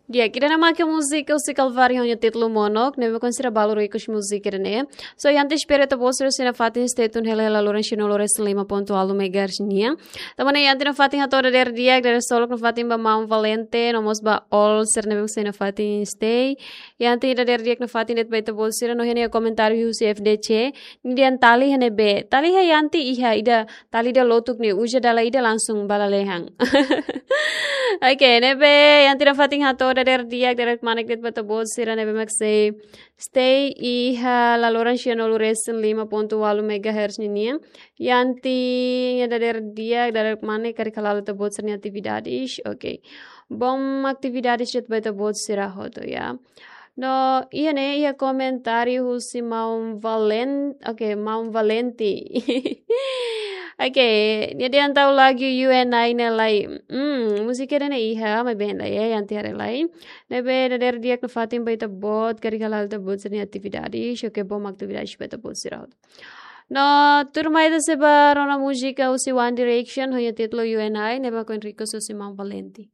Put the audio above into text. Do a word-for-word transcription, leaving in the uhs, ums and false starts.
Di'ak, ida-ne'e mak múzika husi Kalvari ho nia títulu Monok, ne'ebé mak sira balu request múzika ida-ne'e. So, iha ita espera ita-boot sira sei nafatin stay tune hela hela loron sira no loron resin lima pontu ualu megahertz nian. Tanba ne'e iha ita nafatin hato'o dadeer di'ak, dadeer solok nafatin ba Maun Valente, no mós ba all sira ne'ebé mak sei nafatin stay. Iha ita dadeer di'ak nafatin de'it ba ita-boot sira, no iha ne'e komentáriu husi F D C, nia dehan tali iha ne'ebé. Tali iha ita iha ida, tali ida lotuk ne'e uza dala ida langsung ba lalehan. Oke, ne'ebé iha ita nafatin hato'o dadeer di'ak, dadeer kmanek de'it ba ita-boot sira ne'ebé mak sei stay iha laloran sianulu resin lima pontu ualu megahertz ninian. Iha ita dadeer di'ak, dadeer kmanek karik hala'o ita-boot sira-nia atividades. Oke. Bom atividades de'it ba ita-boot sira hotu, ya. No, iha ne'e, iha komentáriu husi Maun Valen-, oke, Maun Valente. Oke, nia dehan tau lagu U N I ne'e lai. Hmm, múzika ida-ne'e iha, maibé la iha, iha ita haree lai. Ne'ebé dadeer di'ak nafatin ba ita-boot, karik hala'o ita-boot sira-nia atividades, oke, bom atividades ba ita-boot sira hotu. No, tuirmai ita sei ba rona múzika husi One Direction, ho nia títulu U N I, ne'ebé mak request husi Maun Valente.